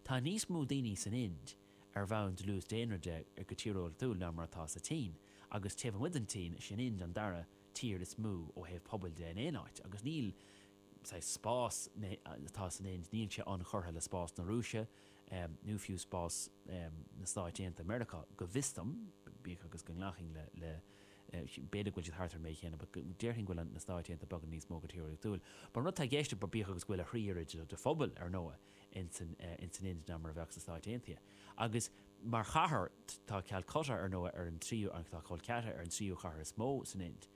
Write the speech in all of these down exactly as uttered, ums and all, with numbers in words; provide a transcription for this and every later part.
Tá níos mó daoine san Ind ar bhonn dlús daonra de go tíreolaíochtúil ná mar atá sa tSín, agus taobh amuigh den tSín, sin Ind an dara tír is mó ó thaobh pobail de in aon áit, agus níl saghas spás atá san Ind, níl sé ionchurtha le spás na Rúise nó fiú spás na Stáit Aontaithe Meiriceá, go bhfios dom, bíodh agus go nglacfainn le le b'fhéidir go bhfuil siad thart ar an méid chéanna, but déarfainn go bhfuil na Stáit Aontaithe beagán níos mó go tíreolaíochtúil. But an rud atá i gceist, bíodh agus go bhfuil a thrí oiread de phobal, ar ndóigh, ins an ins an Ind ná mar a bheadh sna Stáit Aontaithe. Agus mar chathair, tá Calcutta, ar ndóigh, ar an tríú, tá Kolkata ar an tríú chathair is mó san Ind.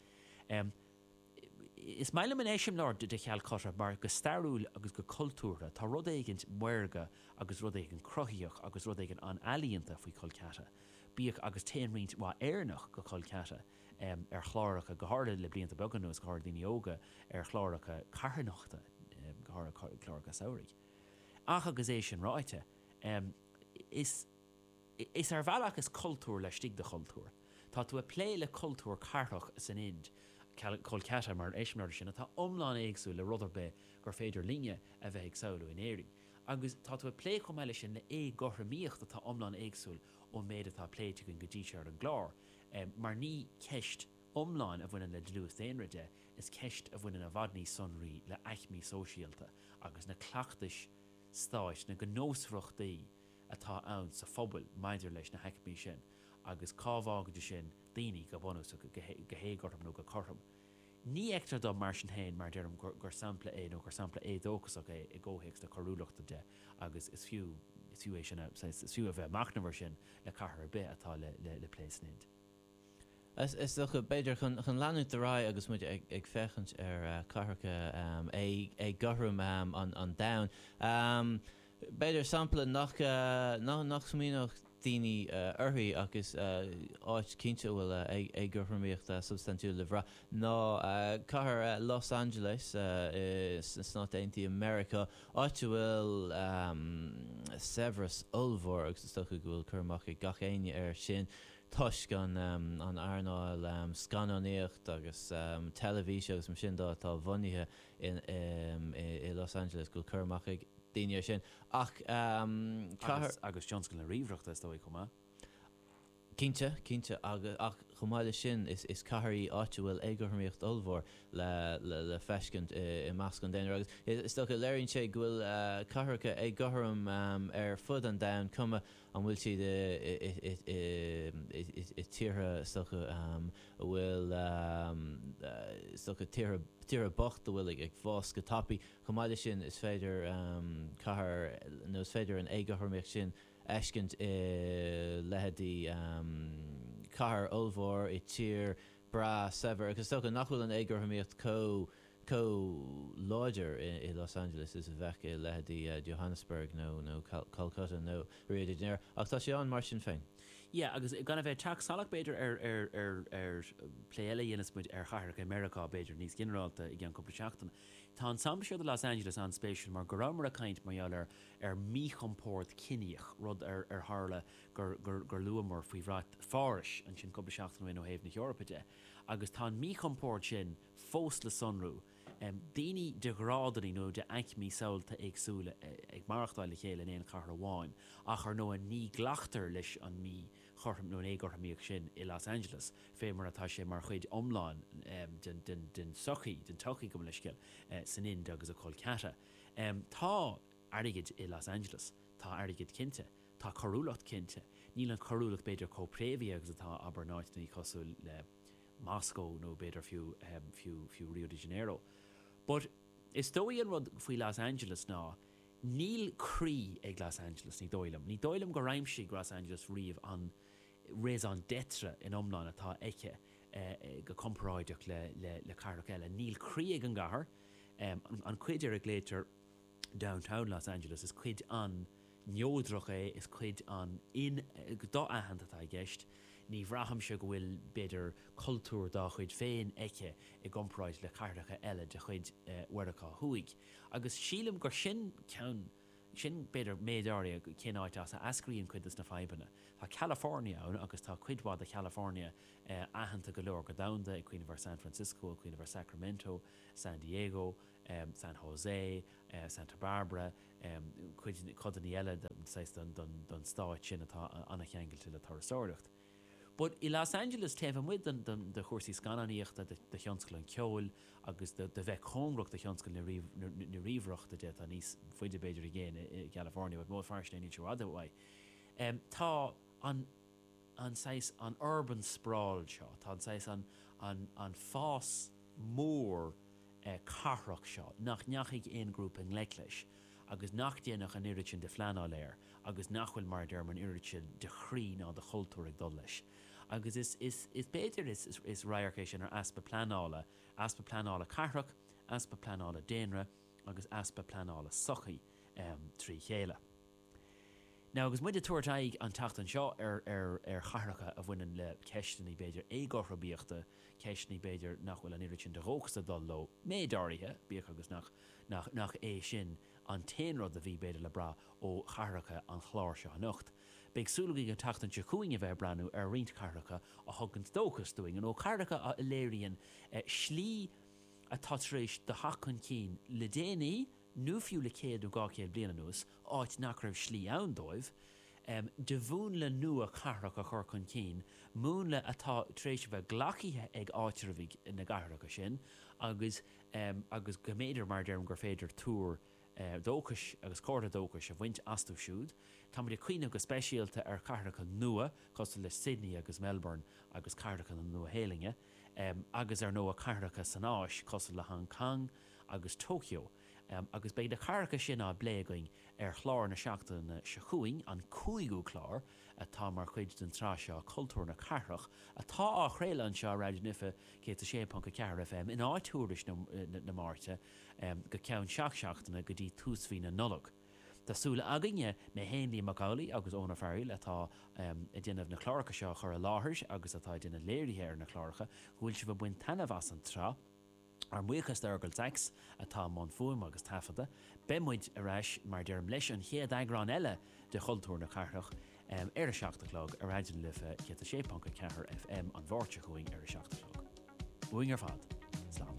Is maith liom an eiseamláir de Chalcutta mar go stairiúil agus go cultúrtha tá rud éigin maorga agus rud éigin cruthaitheach agus rud éigin an-ealaíonta faoi Kolkata. Bíodh agus téann roinnt mhaith Éireannach go Kolkata ar chláracha, go háirithe le blianta beaga anuas, go háirithe daoine óga, ar chláracha carthanachta, go háirithe cláracha samhraidh. Ach agus é sin ráite, is. Is ar bhealach is cultúr laistigh de chultúr. Tá tú ag plé le cultúr cathrach san Ind, Kolkata mar eiseamláir de sin, atá iomlán éagsúil le rud ar bith gur féidir linne a bheith ag samhlú in Éirinn. Agus tá tú ag plé chomh maith leis sin le éagothromaíocht atá iomlán éagsúil ón méid atá pléite againn go dtí seo ar an gclár, mar ní ceist iomlán a bhaineann le dlús daonra de, is ceist a bhaineann i bhfad níos sonraí le aicmí sóisialta agus na cleachtais stáit, na gnósmhaireachtaí atá ann sa phobal maidir leis na haicmí sin agus cá bhfágann sin daoine go bunúsach, go héagothrom nó go cothrom. Ní fheictear dom, mar sin féin, mar a deirim, gur sampla é nó gur sampla éadóchasach é i gcomhthéacs na coiriúlachta de agus is fiú is fiú é sin a is fiú a bheith ag machnamh air sin le cathair ar bith atá le plé san Ind. Is dócha, b'fhéidir, chun leanúint ar aghaidh agus muid ag féachaint ar chathracha éagothroma an domhain, b'fhéidir sampla nach nach smaoineodh daoine uirthi ach is áit cinnte a bhfuil éagothromaíocht substaintiúil le brath ná cathair Los Angeles sna Stáit Aontaithe Meiriceá, áit a bhfuil saibhreas ollmhór agus is dócha go bhfuil cur amach ag gach éinne air sin toisc an an earnáil scannánaíocht agus teilifíse agus mar sin de atá bunaithe i Los Angeles, go bhfuil cur amach ag daoine air sin. Ach cathair. Agus tionscal na ríomhaireachta, is dóigh, chomh maith. Cinnte, cinnte. Agus, ach chomh maith leis sin, is is cathair í áit a bhfuil éagothromaíocht ollmhór le le le feiscint i measc an daonra. Agus is dócha, léiríonn sé go bhfuil cathracha éagothrom ar fud an domhain, cuma an bhfuil siad i i i i tíortha, is dócha, a bhfuil, is dócha, tíortha tíortha bocht a bhfuil ag fás go tapaidh. Chomh maith leis sin, is féidir cathair, nó is féidir an éagothromaíocht sin a fheiscint i leithéidí cathair ollmhór i tír breá saibhir, agus is dócha nach bhfuil an éagothromaíocht chomh chomh láidir i Los Angeles is a bheadh i leithéidí Johannesburg nó nó Calcutta nó Rio de Janeiro, ach tá sé ann mar sin féin. Yeah, agus gan a bheith ag teacht salach, b'fhéidir, ar, ar, ar, ar plé eile a dhéanfas muid ar chathracha i Meiriceá, b'fhéidir, níos ginearálta i gceann cúpla seachtain. Tá an sampla seo de Los Angeles an-spéisiúil mar go rabhamar ag caint mar gheall ar, ar mhíchompord ciníoch, rud ar, ar tharla gur, gur, gur luamar faoi bhrat Phárais ansin cúpla seachtain ó shin ó thaobh na hEorpa de. Agus tá an míchompord sin fós le sonrú. Daoine de ghrádanna nó de aicmí samhalta éagsúla ag maireachtáil le chéile in aon chathair amháin, ach ar ndóigh ní ghlactar leis an míchothrom nó an éagothromaíocht sin i Los Angeles fé mar atá sé mar chuid iomlán den tsochaí, den tsochaí, gabh mo leithscéal, san Ind agus i Kolkata. Tá airgead i Los Angeles, tá airgead cinnte, tá coiriúlacht cinnte, níl an choiriúlacht b'fhéidir chomh préamhaithe agus atá, abair, in áiteanna cosúil le. Moscow nó b'fhéidir fiú, fiú, fiú Rio de Janeiro. But is dóigh an rud faoi Los Angeles ná níl croí ag Los Angeles, ní dóigh liom. Ní dóigh liom gur aimsigh Los Angeles riamh an raison d'être in iomlán atá aici go comparáideach le, le, le cathracha eile. Níl croí ag an gcathair. An cuid ar a nglaoitear Downtown Los Angeles, is cuid an-neodrach é, is cuid an-do-aitheanta atá i gceist. Ní bhraithimse go bhfuil, b'fhéidir, cultúr dá chuid féin aici i gcomparáid le cathracha eile de chuid Mheiriceá Thuaidh. Agus sílim gur sin ceann, sin, b'fhéidir, méid áirithe cén áit as a eascraíonn cuid de na fadhbanna. Tá California ann agus tá cuid mhaith de Chalifornia aitheanta go leor go domhanda, ag cuimhneamh ar San Francisco, ag cuimhneamh ar Sacramento, San Diego, San Jose, Santa Barbara, cuid codanna eile saghas den den stát sin atá an-cheangailte le turasóireacht. But i Los Angeles taobh amuigh den den de chúrsaí scannánaíochta de de thionscal an cheoil agus de de bheith cóngarach do thionscal na na ríomhaireachta de tá níos faide b'fhéidir i gcéin i California, but mór fairsing níl sé fada uaidh. Um, tá an an saghas an urban sprawl seo, tá an saghas an an an fás mór eh, cathrach seo nach ndeachaigh aon grúpa i ngleic leis agus nach ndéanadh an oiread sin de phleanáil air agus nach bhfuil mar deir an oiread sin de chroí ná de chultúr ag dul leis. Agus is, is, is b'fhéidir is, is, is radharc é sin ar easpa pleanála, easpa pleanála cathrach, easpa pleanála daonra agus easpa pleanála sochaí um, trí chéile. Now agus muid ag tabhairt aghaidh an tseachtain seo ar ar ar chathracha a bhaineann le ceisteanna b'fhéidir éagothromaíochta ceisteanna b'fhéidir nach bhfuil an oiread sin de dhóchas ag dul leo méid áirithe bíodh agus nach nach nach é sin an t-aon rud a bhí b'fhéidir le brath ó chathracha an chláir seo anocht. Beidh súil againn an tseachtain seo chugainn a bheith breathnú ar roinnt cathracha a thugann dóchas dúinn an ó cathracha a léiríonn eh, slí atá tar éis do theacht chun cinn le déanaí nó fiú le céad nó dhá chéad bliain anuas, áit nach raibh slí ann dóibh, um, de mhúnla nua cathrach a chur chun cinn, múnla atá tar éis bheith glactha ag áitreabhaigh na gcathracha sin, agus, um, agus go mb'fhéidir mar deirim gur féidir tuar uh, dóchais agus comhartha dóchais a bhaint astu siúd. Tá muid ag cuimhneamh go speisialta ar chathracha nua cosúil le Sydney agus Melbourne agus cathracha na Nua-Shéalainne, um, agus ar ndóigh cathracha san Áis cosúil le Hong Kong agus Tokyo. Um, agus beidh na cathracha sin á bplé againn ar chlár na seachtaine seo chugainn an cúigiú clár atá mar chuid den tsraith seo cultúr na cathrach atá á chraoladh anseo Raidió na Life céad a sé ponc a ceathair FM in áit Tuairisc na, na, na Máirte um, go ceann seacht seachtaine go dtí tús mhí na Nollag. Tá súil againne mé féin Liam Mac Amhlaigh agus Eoin Ó Fearghaíl atá um, ag déanamh na cláracha seo chur i láthair agus atá ag déanamh léirithe ar na cláracha go bhfuil sibh ag baint taitneamh as an tsraith. Ár mbuíochas d'Fheargal Sachs atá i mbun fuaime agus taifeadta, Beidh muid ar ais mar deirim leis an chéad eagrán eile de chultúr na cathrach um, ar a seacht a chlog ar Raidió na Life céad a sé ponc a ceathair FM an Mháirt seo chugainn ar a seacht a chlog. Uainn ar fad.